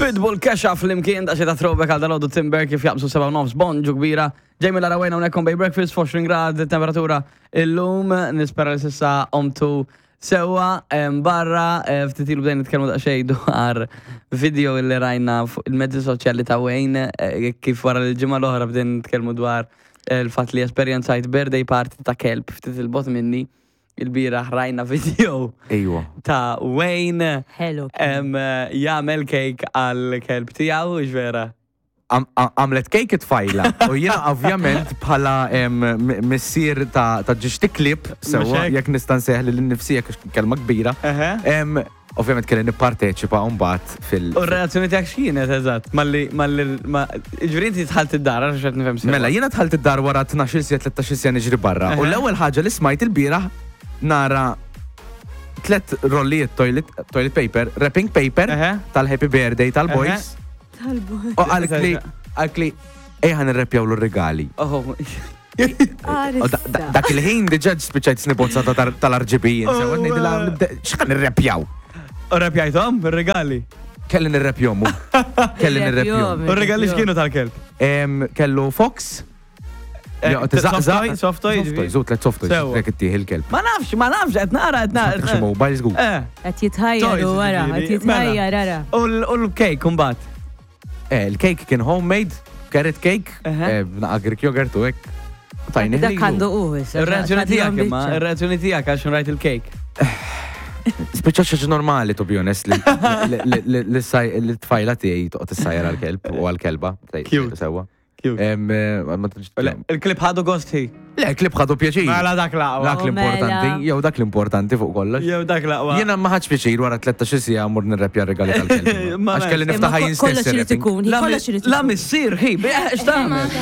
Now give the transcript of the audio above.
Pitbull Kesha flimkien da xita throwback għal dalodu Timber kif jaqbżu 7 nofs bonġu kbira. Jamie Lara Wayne hawnhekk on Bay Breakfast f'20 grad temperatura illum nispera li sissa omtu sewa barra eh, ftit ilu bdejna nitkellmu daqsxejn dwar video li rajna fuq il-mezzi soċjali ta' Wayne eh, kif wara l-ġimgħa l-oħra bdejna nitkellmu dwar eh, il-fatt li esperjenzajt birthday party ta' kelb ftit il-bot minni. Il-bieraħ rajna video Ejwa. ta' Wayne Hello. em, jagħmel cake għal kelb tiegħu, hux vera? Għamlet cake it-tfajla. U jiena ovvjament bħala em, missier ta' ta' ġiex klib, sewwa Mhux hekk? jekk nista' nsejjaħ lil innifsi jekk kelma kbira. Eħe. Em, Ovvjament kelli nipparteċipa mbagħad fil. U r-reazzjoni tiegħek x'kienet eżatt? Malli malli ma ġifieri inti dħalt id-dar għax qed nifhem sewa. Mela jiena dħalt id-dar wara 12-il siegħa 13-il siegħa niġri barra. U l-ewwel ħaġa li smajt ilbieraħ nara tlet rollijiet toilet, toilet paper, wrapping paper tal-happy birthday tal-boys. Tal-boys. U qaltli qaltli ejja ħa nirreppjawlu r-rigali. Oh. Dak il-ħin diġà spiċċajt snibozza tal-RGB. X'ħan nirrepjaw? U repjajthom ir-regali? Kelli nirrepjom. Kelli nirrepjom. U r-regali x'kienu tal-kelb? Kellu Fox. Eh, soft toy? Soft toy, żut let soft toy. Jek ittieħ il-kelb. Ma nafx, ma nafx, qed nara, qed nara. Xi mobile żgur. Eh. Qed jitħajjar wara, qed jitħajjar ara. U l-cake imbagħad. Eh, il-cake kien homemade, carrot cake, eh, b'naqa Greek yogurt u hekk. Tajni Dak għandu u issa. Ir-reazzjoni tiegħek imma, ir-reazzjoni tiegħek għax rajt il-cake. Spiċċa xaġa normali, to be honest, li l-tfajla tiegħi toqgħod issajjar għall-kelb u għall-kelba. Cute. Sewwa. Cute. Eh, ma tantx- Le, Il-klib ħadu gost hi. Le, klib ħadu pjaċir. Mela dak l-aqwa. Dak l-importanti, Mela. jew dak l-importanti fuq kollox. Jew dak l-aqwa. Jiena ma ħadx pjaċir wara 13 siegħa mmur nirrepja r-regali tal-kelb. Ma Għax kelli Imma niftaħ jien stess. Kollox irid ir-wrapping. ikun, La kollox irid La ikun. missier hi, x'tagħmel?